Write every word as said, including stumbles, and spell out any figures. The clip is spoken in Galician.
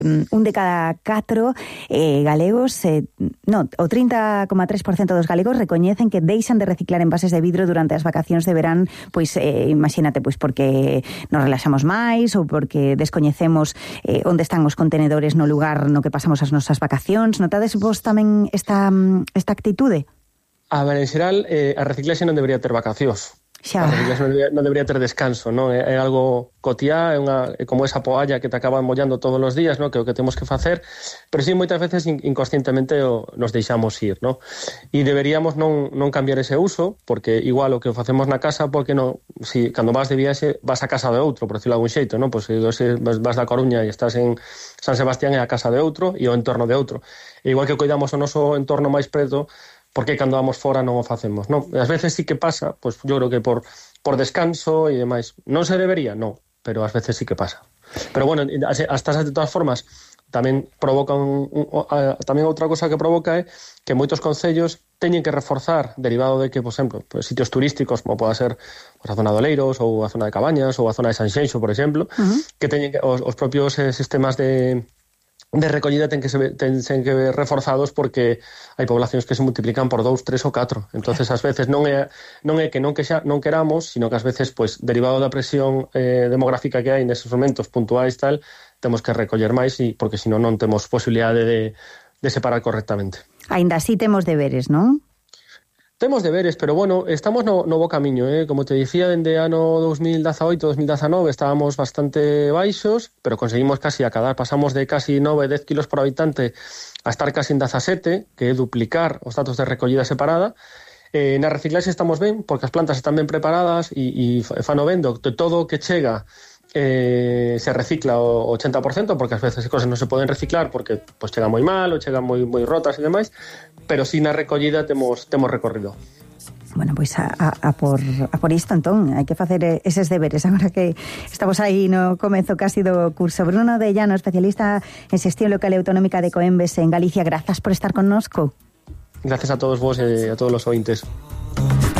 un de cada catro eh, galegos, eh, no, o trinta coma tres por cento dos galegos recoñecen que deixan de reciclar envases de vidro durante as vacacións de verán, pois eh, imagínate, pois porque nos relaxamos máis ou porque descoñecemos eh, onde están os contenedores no lugar no que pasamos as nosas vacacións. Notades vos tamén esta, esta actitude? A ver, en xeral, eh, a reciclaxe non debería ter vacacións. Xa. A reciclaxe non debería, non debería ter descanso, non? É, é algo cotiá, é, unha, é como esa poalla que te acaban mollando todos os días, non? Que é o que temos que facer, pero sí, moitas veces inconscientemente o, nos deixamos ir, non? E deberíamos non, non cambiar ese uso, porque igual o que facemos na casa, porque non, si cando vas de viaxe, vas a casa de outro, por decirlo de algún xeito, non? Pois se vas da Coruña e estás en San Sebastián, é a casa de outro e o entorno de outro. E igual que cuidamos o noso entorno máis preto, porque cando vamos fora non o facemos, non? Ás veces sí que pasa, pois yo creo que por, por descanso e demais. Non se debería? Non, pero ás veces sí que pasa. Pero bueno, as tasas de todas formas tamén provocan un, un, a, tamén outra cosa que provoca é que moitos concellos teñen que reforzar, derivado de que, por exemplo, pues, sitios turísticos como poda ser pues, a zona de Oleiros ou a zona de Cabañas ou a zona de Sanxenxo, por exemplo, uh-huh. que teñen que, os, os propios eh, sistemas de de recollida ten que se ten, ten que ver reforzados porque hai poblacións que se multiplican por dous, tres ou catro. Entonces ás veces non é non é que non que xa non queramos, sino que ás veces pois derivado da presión eh, demográfica que hai neses momentos puntuais tal, temos que recoller máis e porque senón non temos posibilidade de de separar correctamente. Aínda así temos deberes, non? Temos deberes, pero bueno, estamos no, no bo camiño, eh? Como te dicía, dende ano dos mil dezaoito, dos mil dezanove estábamos bastante baixos, pero conseguimos casi acadar, pasamos de casi nove, dez kilos por habitante a estar casi en dezasete, que é duplicar os datos de recollida separada. Eh, na reciclaxe estamos ben, porque as plantas están ben preparadas e, e fano vendo de todo o que chega eh, se recicla o ochenta por cento, porque ás veces as cosas non se poden reciclar porque pues, chega moi mal ou chegan moi, moi rotas e demais, pero si na recollida temos, temos recorrido. Bueno, pois pues a, a, a, por, a por isto, entón, hai que facer eses deberes agora que estamos aí no comezo casi do curso. Bruno de Llano, especialista en xestión local e autonómica de Coembes en Galicia, grazas por estar connosco. Gracias a todos vos e a todos os ointes.